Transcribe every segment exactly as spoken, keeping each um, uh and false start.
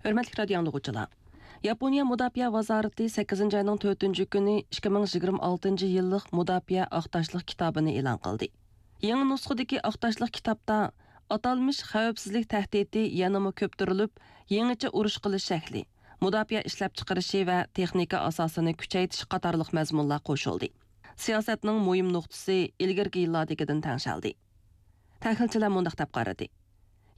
ھۆرمەتلىك رادىيو ئاڭلىغۇچىلار! ياپونىيە مۇداپىئە ۋازارىتى سەككىزىنچى ئاينىڭ تۆتىنچى كۈنى ئىككى مىڭ يىگىرمە ئالتىنچى يىللىق مۇداپىئە ئاق تاشلىق كىتابىنى ئېلان قىلدى. يېڭى نۇسخىدىكى ئاق تاشلىق كىتابتا ئاتالمىش خەۋپسىزلىك تەھدىتى يەنىمۇ كۆپتۈرۈلۈپ، يېڭىچە ئۇرۇش قىلىش شەكلى، مۇداپىئە ئىشلەپچىقىرىشى ۋە تېخنىكا ئاساسىنى كۈچەيتىش قاتارلىق مەزمۇنلار قوشۇلدى. سىياسەتنىڭ مۇھىم نۇقتىسى ئىلگىرىكى يىللاردىكىدىن تەڭشەلدى. تەھلىلچىلەر مۇنداق دەپ قارىدى: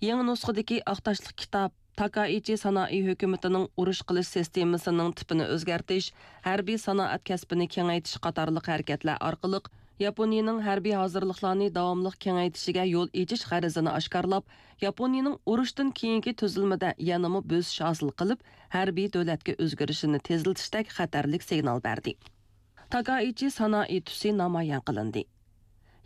يېڭى نۇسخىدىكى ئاق تاشلىق كىتاب تاكائىچى سانائى ھۆكۈمىتىنىڭ ئۇرۇش قىلىش سىستېمىسىنىڭ تىپىنى ئۆزگەرتىش، ھەربىي سانائەت كەسپىنى كېڭەيتىش قاتارلىق ھەرىكەتلەر ئارقىلىق ياپونىيىنىڭ ھەربىي ھازىرلىقلارنى داۋاملىق كېڭەيتىشىگە يول ئېچىش غەرىزىنى ئاشكارىلاپ، ياپونىيىنىڭ ئۇرۇشتىن كېيىنكى تۈزۈلمىدە يەنىمۇ بۆسۈش ھاسىل قىلىپ، ھەربىي دۆلەتكە ئۆزگىرىشىنى تېزلىتىشتەك خەتەرلىك سىگنال بەردى. تاكائىچى سانائى تۈسى نامايان قىلىندى.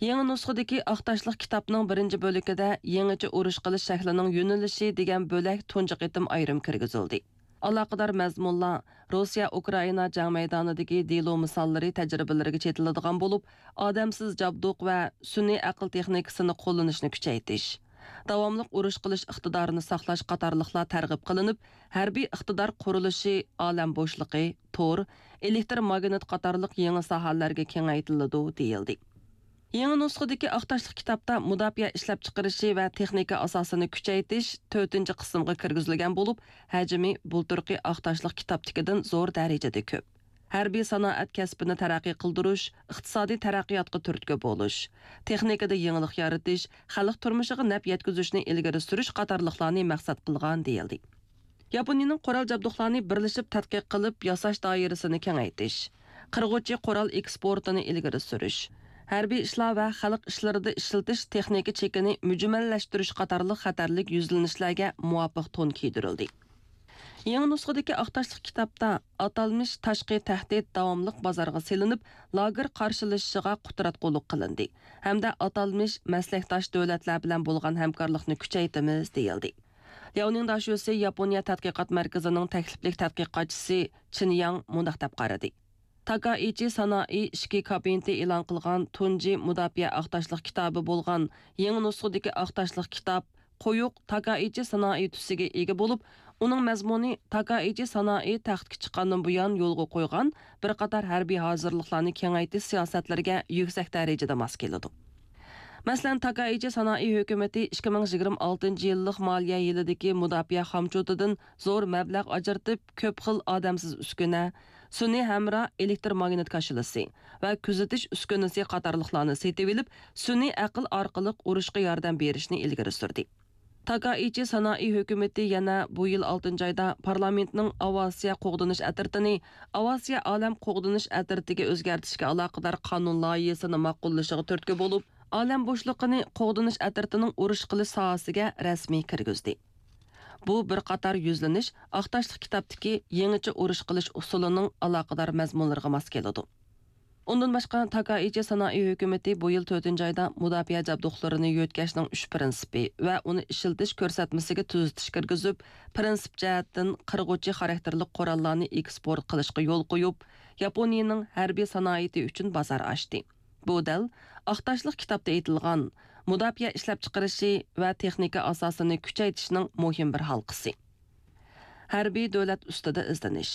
يېڭى نۇسخىدىكى ئاق تاشلىق كىتابنىڭ بىرىنچى بۆلىكىدە يېڭىچە ئۇرۇش قىلىش شەكلىنىڭ يۆنىلىشى دېگەن بۆلەك تۇنجى قېتىم ئايرىم كىرگۈزۈلدى. ئالاقىدار مەزمۇنلار روسىيە ئۇكرائىنا جەڭ مەيدانىدىكى دېلو مىساللىرى تەجرىبىلىرىگە چېتىلىدىغان بولۇپ، ئادەمسىز جابدۇق ۋە سۈنئىي ئەقىل تېخنىكىسىنى قوللىنىشنى كۈچەيتىش، داۋاملىق ئۇرۇش قىلىش ئىقتىدارىنى ساقلاش قاتارلىقلار تەرغىب قىلىنىپ، ھەربىي ئىقتىدار قۇرۇلۇشى، ئالەم بوشلۇقى، تور، ئېلېكتر ماگنىت قاتارلىق يېڭى ساھەلەرگە كېڭەيتىلىدۇ، دېيىلدى. يېڭى نۇسخىدىكى ئاق تاشلىق كىتابتا مۇداپىئە ئىشلەپچىقىرىشى ۋە تېخنىكا ئاساسىنى كۈچەيتىش تۆتىنچى قىسىمغا كىرگۈزۈلگەن بولۇپ، ھەجمى بۇلتۇرقى ئاق تاشلىق كىتابتىكىدىن زور دەرىجىدە كۆپ. ھەربىي سانائەت كەسپىنى تەرەققىي قىلدۇرۇش، ئىقتىسادىي تەرەققىياتقا تۈرتكە بولۇش، تېخنىكىدا يېڭىلىق يارىتىش، خەلق تۇرمۇشىغا نەپ يەتكۈزۈشنى ئىلگىرى سۈرۈش قاتارلىقلارنى مەقسەت قىلغان، دېيىلدى. ياپونىيىنىڭ قورال جابدۇقلارنى بىرلىشىپ تەتقىق قىلىپ ياساش دائىرىسىنى كېڭەيتىش، قىرغۇچى قورال ئېكسپورتىنى ئىلگىرى سۈرۈش، ھەربىي ئىشلار ۋە خەلق ئىشلىرىدا ئىشلىتىش تېخنىكا چېكىنى مۈجمەللەشتۈرۈش قاتارلىق خەتەرلىك يۈزلىنىشلەرگە مۇۋاپىق تون كىيدۈرۈلدى. يېڭى نۇسخىدىكى ئاق تاشلىق كىتابتا ئاتالمىش تاشقى تەھدىت داۋاملىق بازارغا سېلىنىپ، لاگېر قارشىلىشىشىغا قۇتراتقۇلۇق قىلىندى ھەمدە ئاتالمىش مەسلەكداش دۆلەتلەر بىلەن بولغان ھەمكارلىقنى كۈچەيتىمىز، دېيىلدى. لياۋنىڭ داشۆسى ياپونىيە تەتقىقات مەركىزىنىڭ تەكلىپلىك تەتقىقاتچىسى چېن ياڭ مۇنداق دەپ قارىدى: تاكائىچى سانائى ئىچكى كابىنېتى ئېلان قىلغان تۇنجى مۇداپىئە ئاق تاشلىق كىتابى بولغان يېڭى نۇسخىدىكى ئاق تاشلىق كىتاب قويۇق تاكائىچى سانائى تۈسىگە ئىگە بولۇپ، ئۇنىڭ مەزمۇنى تاكائىچى سانائى تەختكە چىققاندىن بۇيان يولغا قويغان بىر قاتار ھەربىي ھازىرلىقلارنى كېڭەيتىش سىياسەتلىرىگە يۈكسەك دەرىجىدە ماس كېلىدۇ. مەسىلەن، تاكائىچى سانائى ھۆكۈمىتى ئىككى مىڭ يىگىرمە ئالتىنچى يىللىق مالىيە يىلىدىكى مۇداپىئە خامچوتىدىن زور مەبلەغ ئاجرىتىپ، كۆپ خىل ئادەمسىز ئۈسكۈنە، سۈنئىي ھەمراھ ئېلېكتر ماگنىت كاشىلىسى ۋە كۆزىتىش ئۈسكۈنىسى قاتارلىقلارنى سېتىۋېلىپ، سۈنئىي ئەقىل ئارقىلىق ئۇرۇشقا ياردەم بېرىشنى ئىلگىرى سۈردى. تاكائىچى سانائى ھۆكۈمىتى يەنە بۇ يىل ئالتىنچى ئايدا پارلامېنتنىڭ ئاۋىئاتسىيە قوغدىنىش ئەترىتىنى ئاۋىئاتسىيە ئالەم قوغدىنىش ئەترىتىگە ئۆزگەرتىشكە ئالاقىدار قانۇن لايىھىسىنى ماقۇللىشىغا تۈرتكە بولۇپ، ئالەم بوشلۇقىنى قوغدىنىش ئەترىتىنىڭ ئۇرۇش قىلىش ساھەسىگە رەسمىي كىرگۈزدى. بۇ بىر قاتار يۈزلىنىش ئاق تاشلىق كىتابتىكى يېڭىچە ئۇرۇش قىلىش ئۇسۇلىنىڭ ئالاقىدار مەزمۇنلىرىغا ماس كېلىدۇ. ئۇندىن باشقا، تاكائىچى سانائى ھۆكۈمىتى بۇ يىل تۆتىنچى ئايدا مۇداپىئە جابدۇقلىرىنى يۆتكەشنىڭ ئۈچ پىرىنسىپى ۋە ئۇنى ئىشلىتىش كۆرسەتمىسىگە تۈزىتىش كىرگۈزۈپ، پىرىنسىپ جەھەتتىن قىرغۇچى خاراكتېرلىك قوراللارنى ئېكسپورت قىلىشقا يول قويۇپ، ياپونىيىنىڭ ھەربىي سانائىتى ئۈچۈن بازار ئاچتى. بۇ دەل ئاق تاشلىق كىتابتا ئېيتىلغان مۇداپىئە ئىشلەپچىقىرىشى ۋە تېخنىكا ئاساسىنى كۈچەيتىشنىڭ مۇھىم بىر ھالقىسى. ھەربىي دۆلەت ئۈستىدە ئىزدىنىش.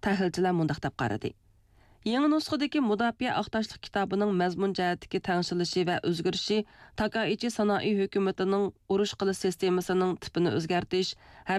تەھلىلچىلەر مۇنداق دەپ قارىدى: يېڭى نۇسخىدىكى مۇداپىئە ئاق تاشلىق كىتابىنىڭ مەزمۇن جەھەتتىكى تەڭشىلىشى ۋە ئۆزگىرىشى تاكائىچى سانائى ھۆكۈمىتىنىڭ ئۇرۇش قىلىش سىستېمىسىنىڭ تىپىنى ئۆزگەرتىش،